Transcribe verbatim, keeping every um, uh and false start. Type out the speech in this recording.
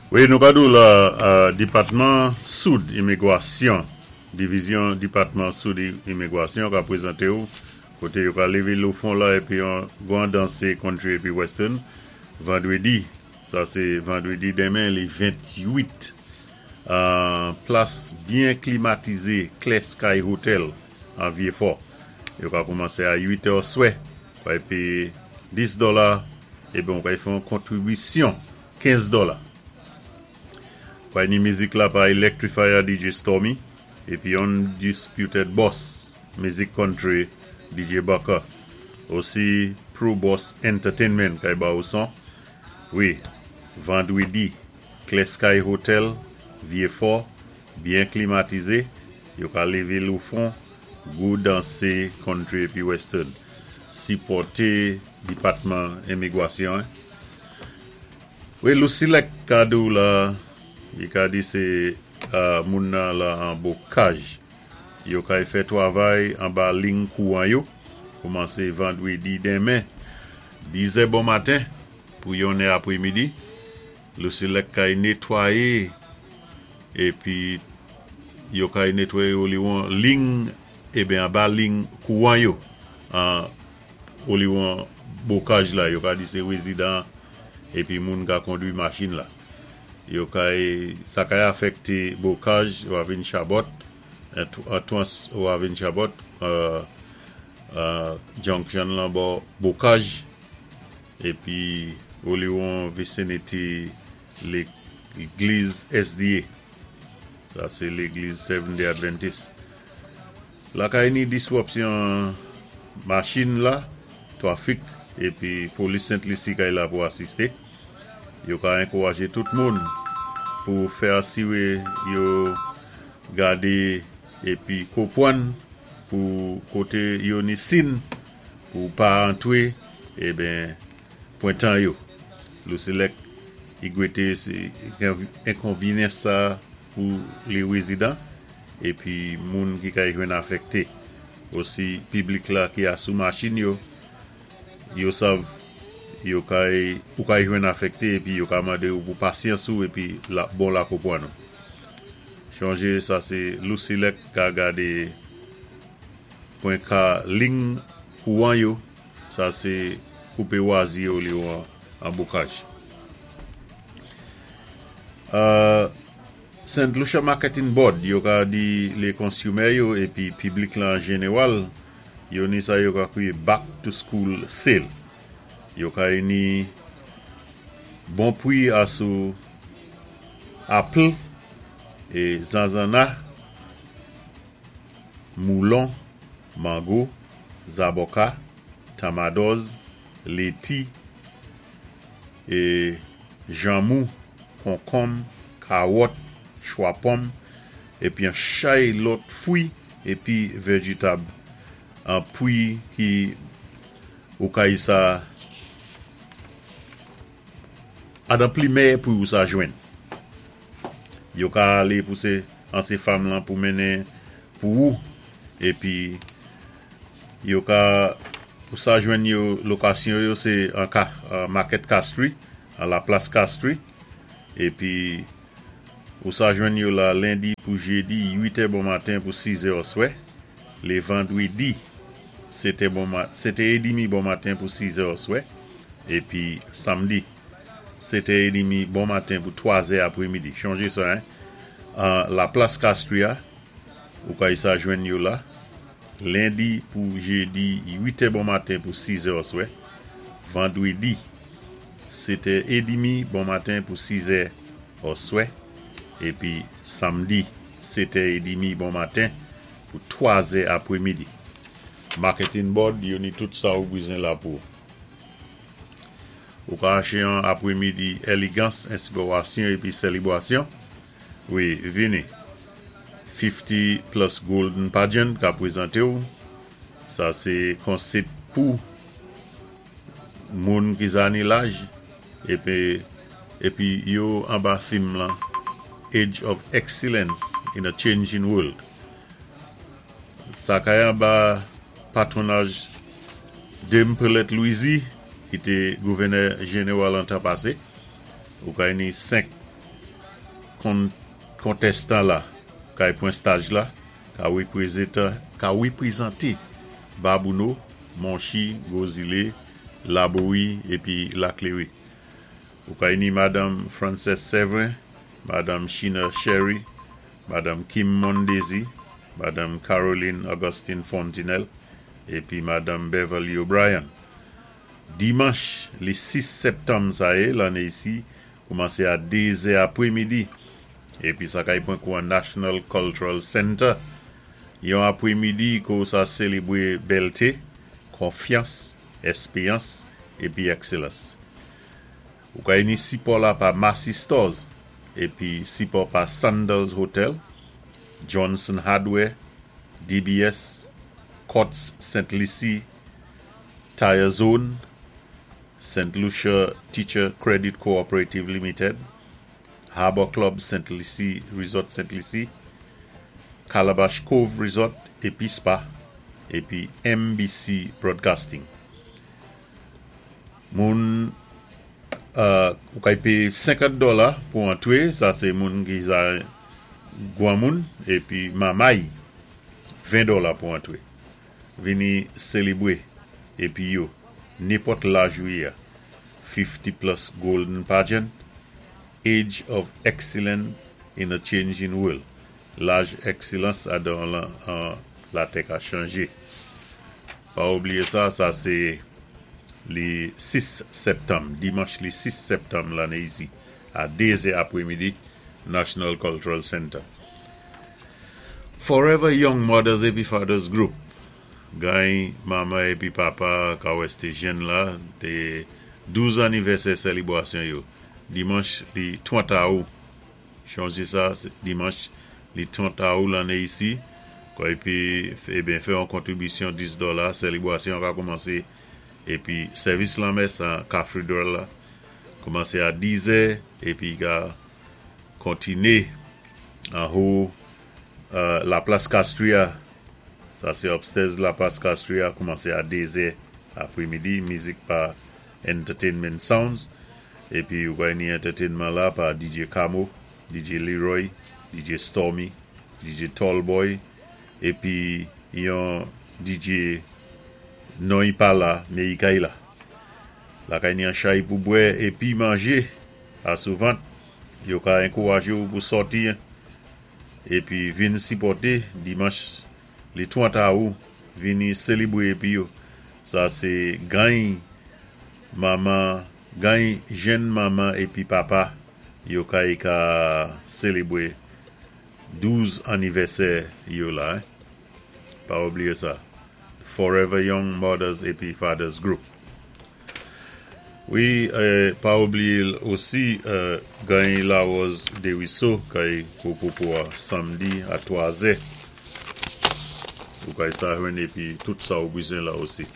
Wi, nou ka di la euh, Dipatman Soud Imigwasyon, Divizyon Dipatman Soud Imigwasyon ka pwézanté ou koté yo ka lévé lou fon la épi yon gwan dansé country épi western vandwédi, sa sé vandwédi denmen li ventwit, euh, plas byen klimatizé, Clear Sky Hotel an Vieux-Fort. Yo ka koumansé a uit è swè, ka péyé dis dola épi on ka fè yon kontribisyon kenz dola. Pay ni mizik la pa Electrifier D J Stormy épi Undisputed Boss mizik country D J Bucker. Osi Pro Boss Entertainment kay ba ou son. Wi, vandwédi, Clear Sky Hotel, Vieux-Fort, byen klimatizé, yo ka lévé lou fon, gou dansé country épi western. Sipòté Dipatman Imigwasyon. Wi, Lusilek ka di ou la, i ka di sé euh, moun nan la an Bokaj. Yo kay fè twavay anba ling kouwan yo. Koumansé vandwédi denmen, diz è bon maten pou yon è apwémidi. Lusilek kay nétwayé épi yo kay nétwayé oliwon ling eben anba ling kouwan yo. An oliwon Bokaj la, yo ka di sé wézidan épi moun ka kondwi machin la. Yo kay, sa kay afèkté Bokaj, Ravine Chabot, Antoine Ravine Chabot, euh, euh, junction lan bò Bokaj, épi oliwon visinity légliz S D A. Sa sé légliz Seventh Day Adventist. La kay ni diswopsyon machin la, trafik, épi polis Sent Lisi kay la pou asisté. Yo ka ankourajé tout moun pou fè asiwé yo gadé épi konpwann pou koté yo ni sin pou pa antwé eben pwentan yo. Lusilek i gwété sé enkonvényans sa pou lé wézidan épi moun ki kay jwenn afèkté. Osi piblik la ki asou machin yo, yo sav yo kay ou kay jwenn afèkté épi yo ka mandé ou pou pasyans ou épi la, bon la konpwann nou. Chonjé sa sé Lusilek ka gadé pwen ka ling kouwan yo, sa sé koupé wazi yo li yo an, an Bokaj. Euh, Saint Lucia Marketing Board, yo ka di lé consumer yo épi piblik la an jénéwal, yo ni sa yo ka kwiyé back to school sale. Yo ka ni bon pwi asou apple é zanzana, moulon, mango, zaboka, tamadoz, léti, é janmou, konkonm, kawòt, chwapòm, épi an chay lòt fwi, épi véjitab an pwi ki ou kay sa adan pli mèyè pou ou sa jwenn. Yo ka alé pou sé an sé fam lan pou mennen pou ou, épi yo ka pou sa jwenn yo lokasyon yo sé an ka, an Market Castries, an la Place Castries, épi ou sa jwenn yo la lendi pou jédi uit è bon maten pou sis è oswè, lé vandwédi sétè bon ma, sétè édmi bon maten pou sis è oswè, épi samdi sétè édmi bon maten pou twa è apwémidi. Chonjé sa, hein? Uh, la Place Castries, ou kay sa jwenn yo la, lendi pou jédi uit è bon maten pou sis è oswè, vandwédi sétè édmi bon maten pou sis è oswè, épi samdi sétè édmi bon maten pou twa è apwémidi. Marketing Board, yo ni tout sa ou bizwen la pou. Ou ka aché an apwémidi élégans, enspirasyon épi sélébwasyon. Wi, vini. fifty Plus Golden Pageant ka pwézanté ou. Sa sé konsit pou moun ki zani laj épi épi yo anba theme lan Age of Excellence in a Changing World. Sa kay anba patwonaj Dame Pearlette Louisy ki té gouvènè jénéwal an tan pasé. Ou kay ni senk kon, kontestan la, kay pwan staj la, ka ka wépwézanté Babonneau, Monchi, Gros Islet, Laborie épi La Cléry. Ou kay ni Madame Frances Severin, Madame Sheena Sherry, Madame Kim Mondesi, Madame Caroline Augustine Fontinelle, épi Madame Beverly O'Brien. Dimanch, li sis septanm sa yé, lanné isi, koumansé a dé zè apwémidi, épi sa kay pwan kou an National Cultural Center. Yon apwémidi kou sa sélébwé bèlté, konfyans, éspéyans, épi èkselans. Ou kay ni sipò la pa Massy Stores, épi sipò pa Sandals Hotel, Johnson Hardware, D B S, Courts Saint Lucie, Tire Zone, Saint Lucia Teacher Credit Cooperative Limited, Harbor Club Saint Lucie, Resort Saint Lucie, Calabash Cove Resort épi Spa, épi M B C Broadcasting. Moun euh, ou kay péyé senkant dola pou antwé, sa sé moun ki sa gwan moun, épi mamay, ven dola pou antwé. Vini sélébwé, épi yo, nenpòt laj ou yé, fifty plus Golden Pageant, Age of Excellence in a Changing World. Laj èkselans adan la, an, latè ka chanjé. Pa oubliyé sa, sa sé li sis septanm, dimanch li sis septanm lanné isi, a dé zè apwémidi, National Cultural Center. Forever Young Mothers épi Fathers Group. Gay mama épi papa ka wèsté jèn la, té douz anivèsè sélébwasyon yo. Dimanch li trant awou. Chonjé sa, dimanch li trant awou lanné isi. Kwa épi, ébyen, fè yon kontribisyon dis dola, sélébwasyon ka koumansé. Épi, sèvis lanmès an Cathedral la, koumansé a diz è, épi ka kontiné an wo euh, la Place Castria. Sa sé upstairs la Place Castria, koumansé a dé zè apwémidi, mizik pa Entertainment Sounds. Épi, ou va ni entertainment la pa D J Camo, D J Leroy, D J Stormy, D J Tallboy, épi yon D J non y pa la, mé i kay la. La kay ni an chay pou bwè épi manjé a souvant, yo ka ankouwajé ou pou sòti épi vin sipòté dimanch li trant awou, vini sélébwé épi yo. Sa sé gany mama, gany jèn mama épi papa yo kay ka sélébwé douz anivèsè yo la. Hein? Pa oubliyé sa. Forever Young Mothers épi Fathers Group. Wi, euh, pa oubliyé osi euh, gany Larose Desruisseaux kay pou samdi a twazè. Ou kay sa jwenn épi tout sa ou bizwen la osi.